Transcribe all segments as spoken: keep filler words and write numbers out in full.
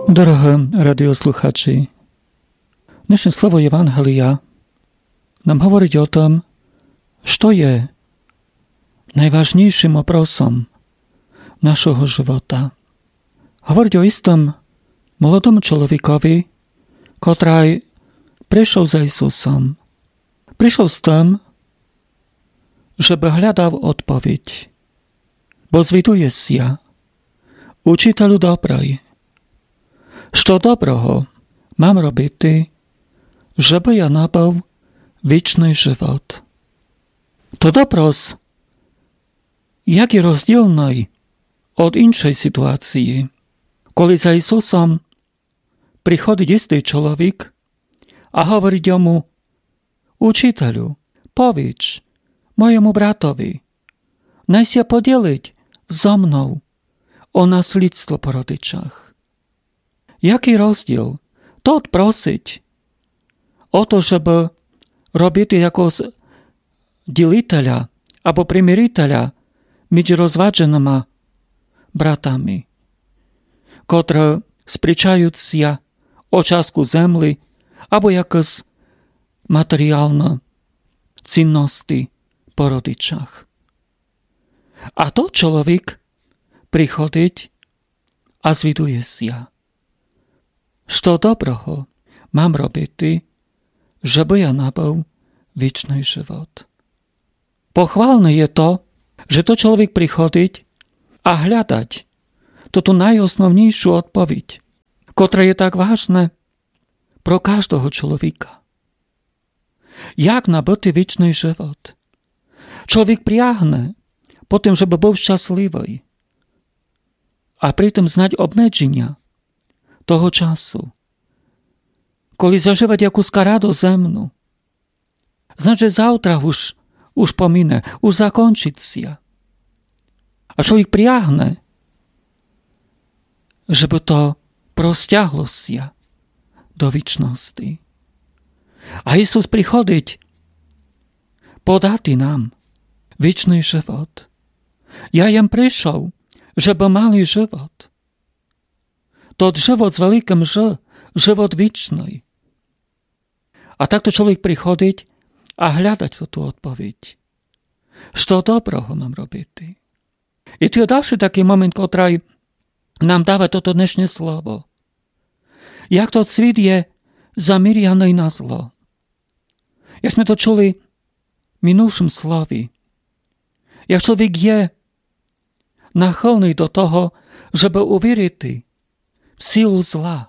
Дорогы радіослухачі, днешнє слово Євангелія нам говорить о тым, што є найважнійшым опросом нашого живота. Говорить о істым молодому чоловікові, котрый пришов за Ісусом. Пришов з тым, жебы глядав одповідь. Бо звідує ся: Учітелю добрый, што доброго мам робити, жебы я набыв вічный живот? Тот опрос як і розділный од іншой сітуації, коли за Ісусом приходить істый чоловік а говорить йому: Учітелю, повідж мойому братови, най ся поділить зо мнов о наслідство по родичах. Якый розділ? Тот просить о то, жебы робити якогось ділителя або примирителя між розвадженыма братами, котры сперечають ся о частку землі або якісь матеріалны цінности по родичах. А тот чоловік приходить а звідує ся: Што доброго мам робити, жебы я набыв вічный живот? Похвалне є то, же тот чоловік приходить а глядать тоту найосновнійшу одповідь, котра є так важна про каждого чоловіка. Як набыти вічный живот? Чоловік прягне по тым, жебы быв щасливый, а притым знать обмедженя того часу, коли зажывать якусь радость земну. Знать, же завтра уж, уж помине, уж закончить ся. А чоловік прягне, жебы то простягло ся до вічности. А Ісус приходить подати нам вічный живот. Я єм пришов, жебы мали живот. Тот живот з великым Ж, живот вічный. А так тот чоловік приходить а глядать тоту одповідь. Што доброго мам робити? І ту є дальшый такый момент, котрый нам дава тото днешнє слово. Як тот світ є заміряный на зло. Як сьме то чули в минувшым слові, як чоловік є нахылный до того, жебы увірити в силу зла,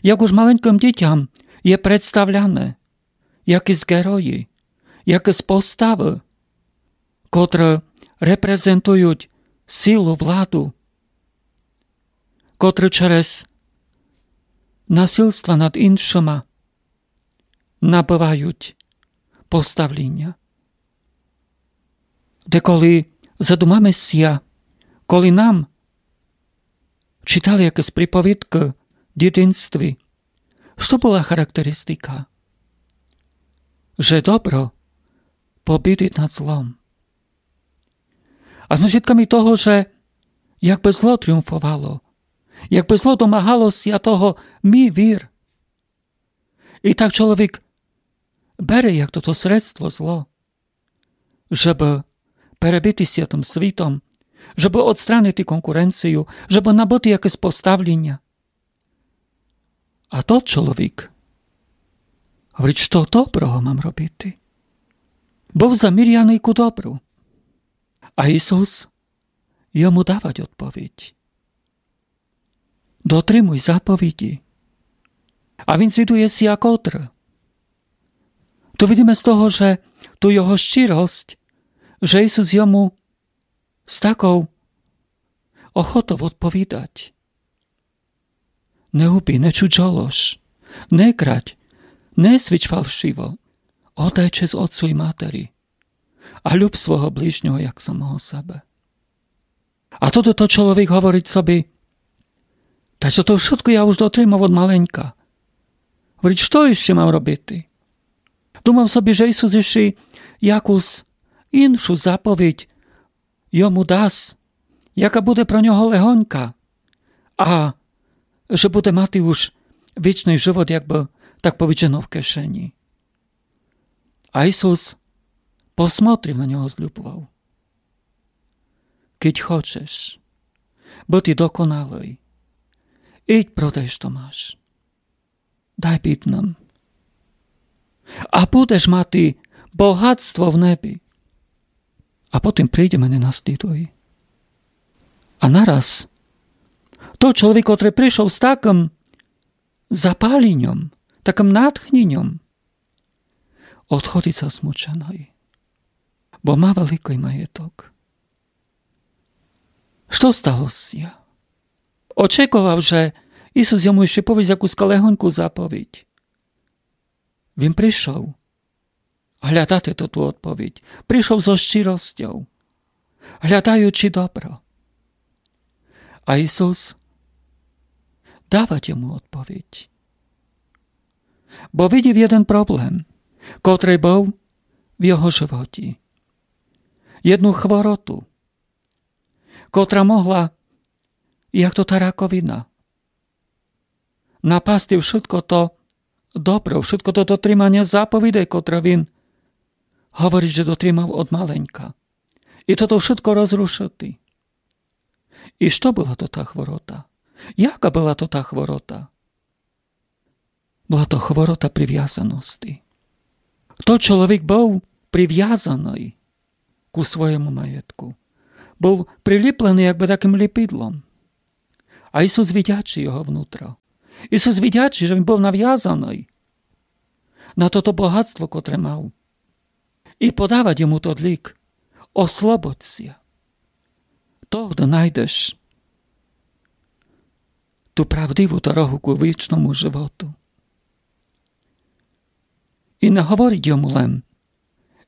як уж маленькым дітям є представляне якісь герої, якісь поставы, котры репрезентують силу, владу, котры через насилства над іншыма набывають поставліня. Деколи задумаме ся, коли нам читали якісь приповідкы в дітинстві, што была характеристика? Же добро побідить над злом. А сьме свідками того, же якбы зло тріумфовало, якбы зло домагало ся того: мі вір. І так чоловік бере як тото средство зло, жебы перебити ся тым світом, жебы одстранити конкуренцію, жебы набыти якесь поставліня. А тот чоловік говорить: што доброго мам робити? Быв заміряный ку добру. А Ісус йому давать одповідь: Дотримуй заповіді. А він звідує ся, котры. То видиме з того, же ту його щиросць, же Ісус йому з таков охотов одповідать: Не убий, не чужолож, не крадь, не свідч фалшиво, оддай чесц отцу і матери а люб свого ближнього як самого себе. А тото тот чоловік говорить собі: Та што, то вшытко я уж дотримав од маленька. Говорить: Што іщи мам робити? Думав собі, же Ісус іщи якусь іншу заповідь йому дасть, яка буде про нього легонька, а же буде мати уж вічный живот, як бы так повіджено, в кишені. А Ісус посмотрив на нього з любовов. Кидь хочеш быти доконалый, ідь, продай, што маш. Дай бідным. А будеш мати богатство в небі. А потім прийди мене наслідуй. А нараз тот чоловік, котрый пришов з такым запаліньом, такым натхніньом, одходить засмученый, бо ма великый маєток. Што стало ся? Очековав, же Ісус йому іщи повість якусь легоньку заповідь. Він пришов глядати ту, ту одповідь. Пришов зо щиростьов, глядаючи добро. А Ісус давать йому одповідь. Бо видів єден проблем, котрый быв в його животі. Єдну хвороту, котра могла, як то та раковина, напасти вшытко то добро, вшытко то дотриманя заповідей, котра він говорить, же дотримав од маленька. І тото вшытко розрушыти. І што была то та хворота? Яка была то та хворота? Была то хворота привязаности. Тот чоловік быв привязаный ку своєму маєтку. Быв приліпленый якбы такым ліпідлом. А Ісус видячи його внутро. Ісус видячи, же він быв навязаный на тото богатство, котре мав. І подавать йому тот лік: ослободь ся. Тогды найдеш ту правдиву дорогу ку вічному животу. І не говорить йому лем: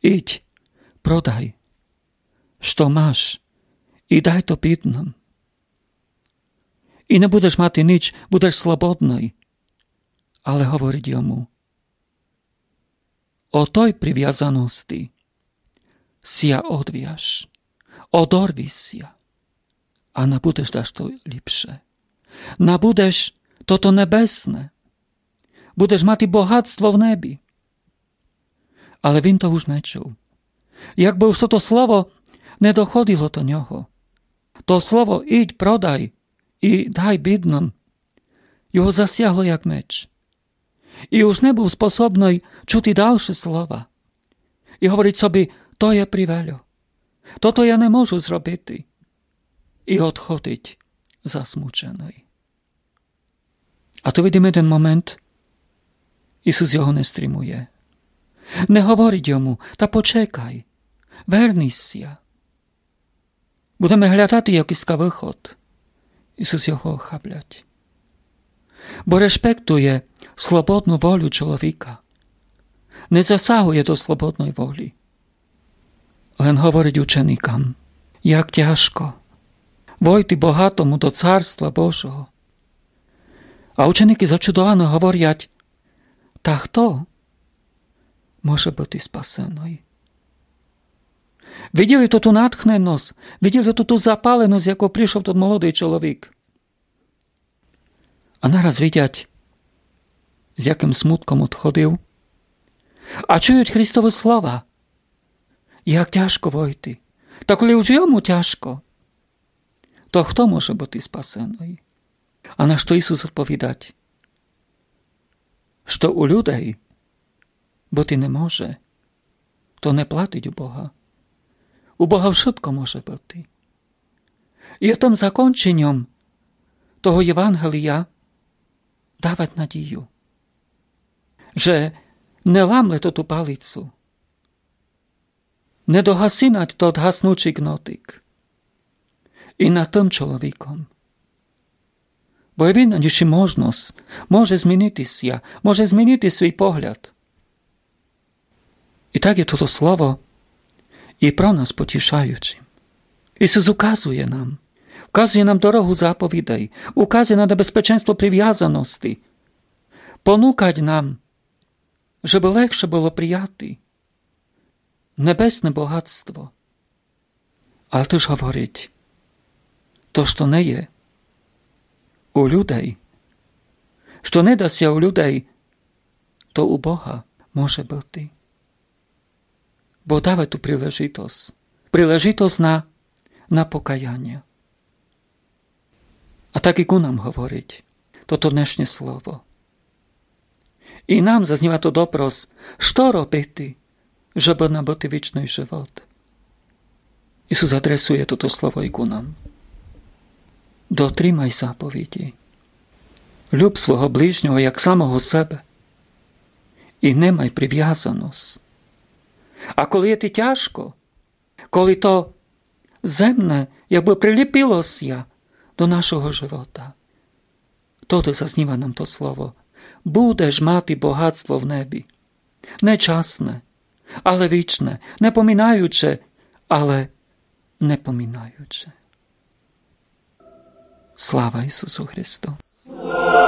ідь, продай, што маш, і дай то бідным. І не будеш мати ніч, будеш слободный. Але говорить йому: од той привязаности ся одвяж, одорви ся, а набудеш дашто ліпше. Набудеш тото небесне. Будеш мати богатство в небі. Але він то уж не чув. Якбы уж тото слово не доходило до нього, то слово: ідь, продай і дай бідным, його засягло як меч. І уж не быв способный чути далше слова. І говорить собі: то є привельо. Тото я не можу зробити. І одходить засмученый. А ту видиме єден момент. Ісус його не стримує. Не говорить йому: та почекай, верни ся. Будеме глядати якысь выход. Ісус його охаблять. Бо респектує слободну волю чоловіка. Не засагує до слободной волі. Лем говорить ученикам: як тяжко войти богатому до Царства Божого. А ученики зачудовано говорять: та хто може быти спасеный? Виділи ту, ту натхненность, виділи ту, ту запаленость, з яков пришов тот молодый чоловік. А нараз видять, з якым смутком одходив. А чують Христовы слова: як тяжко войти. Та коли уж йому тяжко, то хто може быти спасеный? А на што Ісус одповідать, што у людей быти не може, то не платить у Бога. У Бога вшытко може быти. І тым законченьом того Євангелія давать надію, же не ламле тоту палицу, не догасинать тот гаснучий кнотик. І над тым чоловіком. Бо є він іщи можность, може змінити ся, може змінити свій погляд. І так є тото слово і про нас потішаючым. Ісус указує нам, указує нам дорогу заповідей, указує на небезпеченство привязаности, понукать нам, жебы легше было прияти небесне богатство. Але тыж говорить: то, што не є у людей, што не да ся у людей, то у Бога може быти. Бо даве ту прилежитосц. Прилежитосц на, на покаянє. А так і ку нам говорить тото днешнє слово. І нам зазніва то допрос, што робити, жебы набыти вічный живот. Ісус адресує тото слово і ку нам. Дотримай заповіді. Люб свого ближнього як самого себе. І не май привязаносц. А коли є ти тяжко, коли то земне якбы приліпило ся до нашого живота, тото зазніва нам то слово. Будеш мати богатство в небі. Не часне, але вічне. Не поминаюче, але не поминаюче. Слава Ісусу Христу!